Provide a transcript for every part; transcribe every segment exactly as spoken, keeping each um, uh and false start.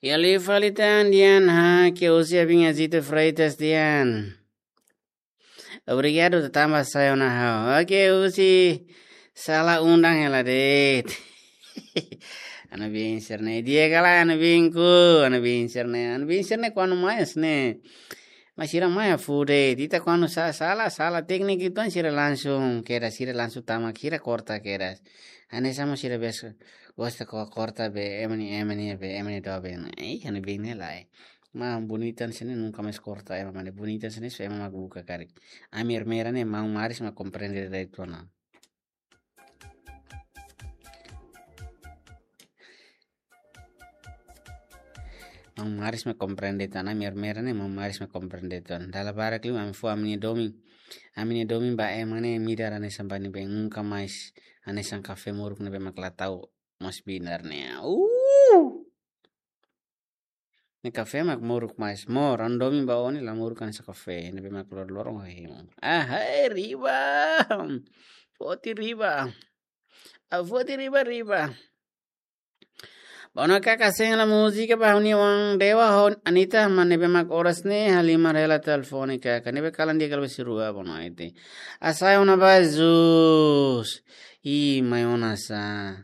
Iha liu fali tan Dian, ha, ke husi Abin Azito Freitas Dian. Obrigadu tanba sai ona ha'u. Oke, husi sala undang hela de'it. Anu bin serne, di'ak ka lae anu binku, anu bin serne, anu bin serne kuandu mai serne. Mas sira mai fude, ita kuandu sa-, sala, sala tékniku ituan sira langsung kedas, sira langsung tama, sira korta kedas. Hanesan mós sira bes gosta ko-, korta be, ema ne'e, ema ne'e be, ema ne'e doben. Ih, anu bin ne'e lae. Maun Bonita sira ne'e nunka mais korta ema, maun Bonita sira ne'e só ema mak buka karik. Ami armeira ne'e maun Maris mak komprende de'it ona. Maun Maris mak komprende tan, ami armeira ne'e maun Maris mak komprende tan. Dala barak liu ami fó ami-nia domin. Ami-nia domin ba ema ne'e midar hanesan ba ne'ebé nunka mais hanesan kafé moruk ne'ebé mak la tau mós bidar ne'e. Uh! Ne'e kafé mak moruk mais. Mós, ha'u-nia domin ba ó ne'e la moruk hanesan kafé ne'ebé mak lor-loron ho hemu. Ah, hai, riba. Foti riba. Ah, foti riba, riba. Ba ona kaka, sei hela múzika ba ha'u-nia oan Dewa ho Anita, maibé ne'ebé mak oras ne'e halimar hela telefone kaka. Ne'ebé kalan di'ak kala besi rua, boa noite. Ah, sai ona ba Jesus. Ih, mai ona sá.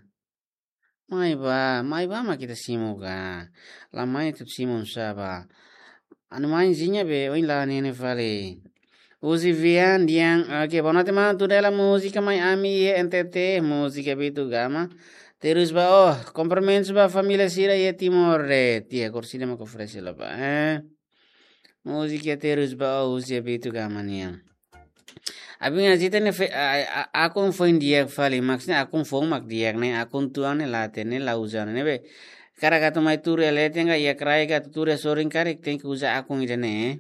Mai bá, mai bá mak ita simu ka. La mai atu simu sá bá. Anu mainzinha be, oin la nene fali. Uzi Vian, Dian, oke, boa noite, maun, tudo hela múzika mai ami iha N T T, múzika Beto Gama. Terus ba, oh, kumprimentus ba família sira iha Timor, eh, tia, kursi dema ko fresi la ba, eh. Múzika terus ba, oh, Uzi Beto Gama nian. Abin Azito ne'e fe-, a, a, akun foin di'ak fali, maksudnya akun foun mak di'ak ne'e, akun tuan ne'e la hatene, la uza ne'e be. Karik atu mai tuur iha leten ka iha kraik atu tuur iha sorin karik, tenke uza akun ida-ne'e.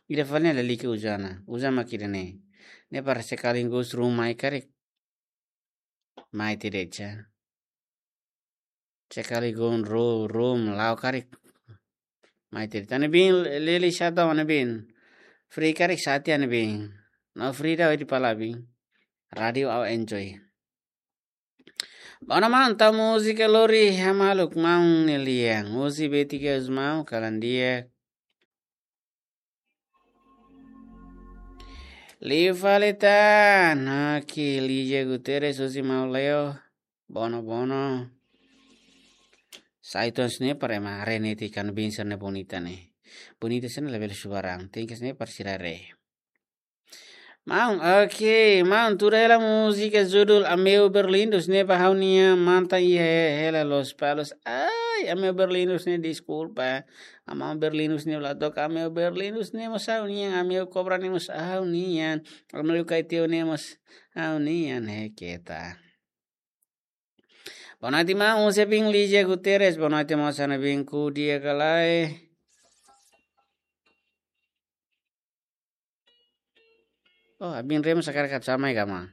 Ida fali ne'e lalika uza ona, uza mak ida-ne'e. Ne'e para sekaligus ruma mai karik. Mai tiha de'it sá. Sekaligus ru-, ruma la'o karik. Mai tiha de'it. Anu bin, lili satu anu bin. Free karik sati anu bin. No free da di pala bin. Radio au enjoy. Ba ona maun, tau múzika lori hamaluk maun ne'e lian. Uzi Beti Geus mau, kalan di'ak. Liu fali tan, oke, Lígia Guterres, husi maun Leo, bono, bono. Sai tan sá ne'e para ema haree netik anu bin sira ne'e bonita ne'e. Bonita sira ne'e labele subarang, tenke sá ne'e para sira haree. Maun, oke, maun, tuur hela múzika judul Ameu Berlindus ne'e ba ha'u-nia mantan iha hela Lospalos. Ai, Ameu Berlindus ne'e deskulpa. Ameu Berlindus ne'e la toka, Ameu Berlindus ne'e mós ha'u-nian, Ameu Kobra ne'e mós ha'u-nian, Ameu Kaiteu ne'e mós ha'u-nian, eh, keta. Boa noite, maun, husi Abin Lígia Guterres, boa noite, maun, sá ne'e bin ku dia kalai. Oh, Abin Remo sakarak atu sá mai ka maun.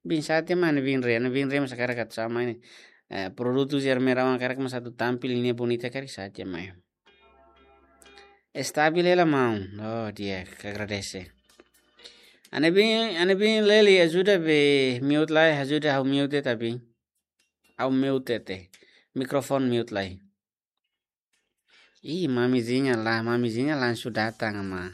Bin sate mai Abin Remo, Abin Remo sakarak atu sá mai ne'e. Eh, produtu jar merawan karak mós atu tampil ne'e bonita karik sate mai. Estabil hela maun. Oh, di'ak, agradese. Anu bin, anu bin Leli ajuda be mute lai, ajuda ha'u mute ta bin. Ha'u mute te. Mikrofone mute lai. Ih, mamizinha la, mamizinha langsung datang ama.